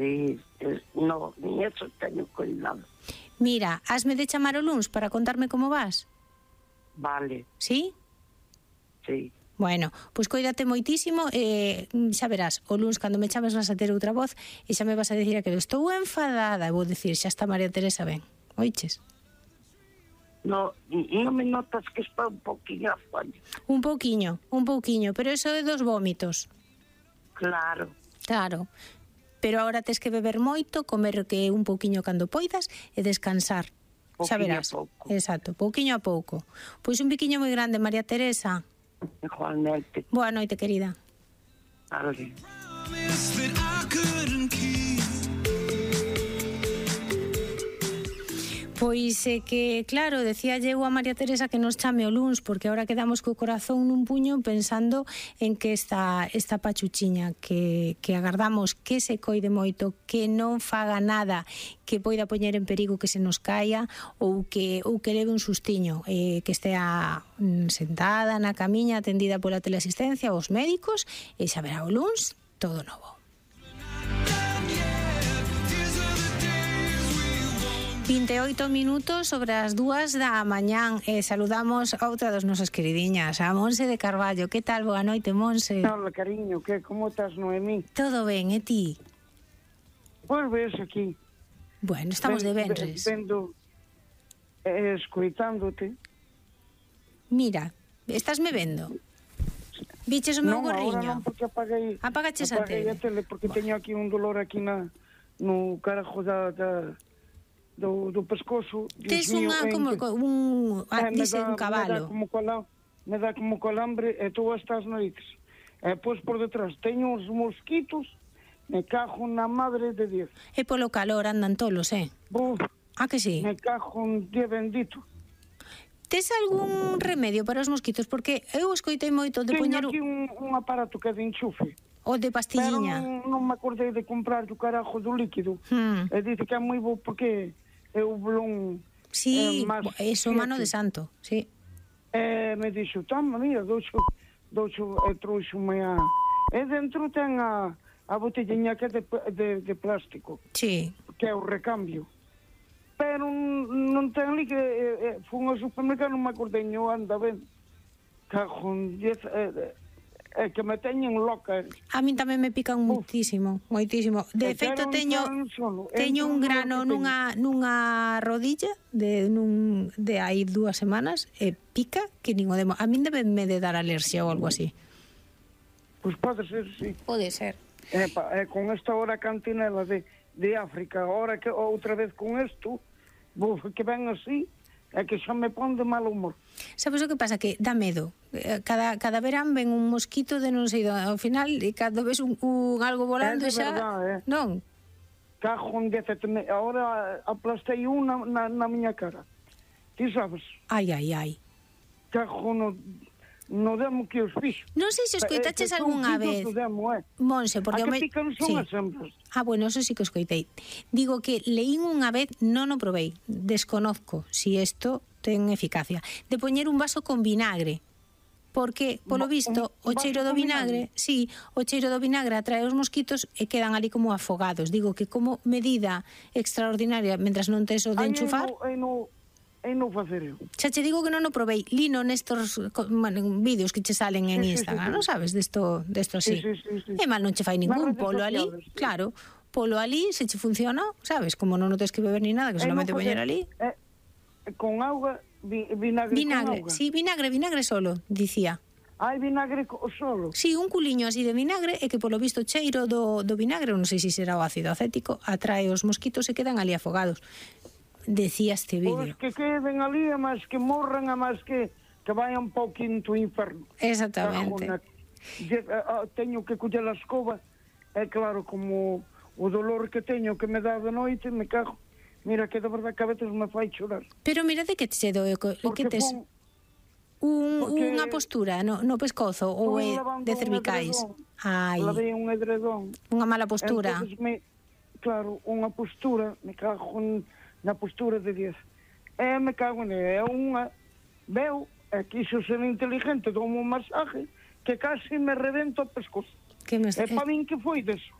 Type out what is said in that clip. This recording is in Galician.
Sí, no, ni eso teño cuidado. Mira, hasme de chamar o luns para contarme como vas? Vale, Sí? sí. Bueno, pois coídate moitísimo e xa verás, o luns cando me chames vas a ter outra voz e xa me vas a dicir que estou enfadada e vou dicir, xa está María Teresa ben, oiches? No me notas que está un poquinho afoño. Un pouquiño, pero eso é dos vómitos. Claro. Claro, pero agora tes que beber moito, comer que un pouquiño cando poidas e descansar. Xa verás. Pouco. Exacto, pouquiño a pouco. Pois un biquiño moi grande, María Teresa. Igualmente. Boa noite, querida. Vale. Pois é que, claro, decía eu a María Teresa que nos chame o luns, porque agora quedamos co corazón nun puño pensando en que esta pachuchiña que agardamos que se coide moito, que non faga nada que poida poñer en perigo que se nos caia ou que leve un sustiño, que estea sentada na camiña atendida pola teleasistencia aos médicos e xa verá o luns todo novo. 28 minutos sobre as 2 da mañán e saludamos a outra das nosas queridiñas, a Monse de Carballo. Que tal? Boa noite, Monse. Hola, cariño, que como estás, Noemí? Todo ben, e ti? Pois ves aquí. Bueno, estamos de venres. Vendo, escoitándote. Mira, estás me vendo? Viches o meu gorriño? Non, porque Apagaches a tele. Porque teño aquí un dolor aquí no carajo do pescozo. Tes unha como un cabalo. Me dá como calambre e tú estás noites. E pois por detrás teño uns mosquitos, me cajo na madre de Dios. E polo calor andan tolos, Buf, que sí? me cajo un día bendito. Tes algún remedio para os mosquitos? Porque eu escoitei moito de poñer... Teño aquí un aparato que é de enchufe. O de pastilliña. Pero non me acordei de comprar o carajo do líquido. E dice que é moi bo porque é o blón. Sí, eso mano de santo, sí. Me dixo, toma, mira, douxo e trouxo-me a... E dentro ten a botellinha que é de plástico. Sí. Que é o recambio. Pero non ten ali que... Fun ao supermercado, non me acordei, anda ben. Cajón, que me teñen loca. A min tamén me pican moitísimo. De feito, teño un grano nunha rodilla de hai 2 semanas e pica que nin o demo. A min debeme de dar alerxia ou algo así. Pois pode ser, sí. Pode ser. Con esta hora cantinela de África, ahora que outra vez con isto, que ven así, é que xa me pon de mal humor. Sabes o que pasa? Que dá medo. Cada verán ven un mosquito de non sei ao final, e cando ves un algo volando xa... Verdad, non? Cajón, ahora aplastei na miña cara. Ti sabes? Ai. Cajón, no demo que os fixo. Non sei se escoitaches algunha vez. Monse, porque... A que pican son as hembras. Bueno, eso sí que escoitei. Digo que leín unha vez, non o provei, desconozco si isto ten eficacia, de poñer un vaso con vinagre, porque, polo visto, o cheiro do vinagre, sí, o cheiro do vinagre atrae os mosquitos e quedan ali como afogados. Digo que como medida extraordinaria, mentras non tes o de enchufar... E non facer eu. Xa che digo que non o provei. Lino nestos vídeos que che salen en Instagram, non sabes? Desto así. Sí. E mal non che fai ningún polo ali. Claro, polo ali, se che funciona, sabes? Como non o tes que beber ni nada, que solamente poñer ali. Con auga, vinagre con auga. Sí, vinagre solo, dicía. Hai vinagre solo? Sí, un culiño así de vinagre e que polo visto cheiro do vinagre, non sei se será o ácido acético, atrae os mosquitos e quedan ali afogados. Decía este vídeo. Pois que queden ali, a máis que morran, a máis que vayan un pouquinho ao inferno. Exactamente. Teño que coller a escoba, é claro, como o dolor que teño que me dá de noite, me cago. Mira que de verdade que a veces me fai chorar. Pero mira de que che doe, que tes unha postura no pescozo ou é de cervicais. Ai. Lavei un edredón. Unha mala postura. Claro, unha postura, me cago na postura de 10. Me cago é unha... Veo, quixo ser inteligente, dou un masaje que casi me rebento o pescozo. E para min que foi deso?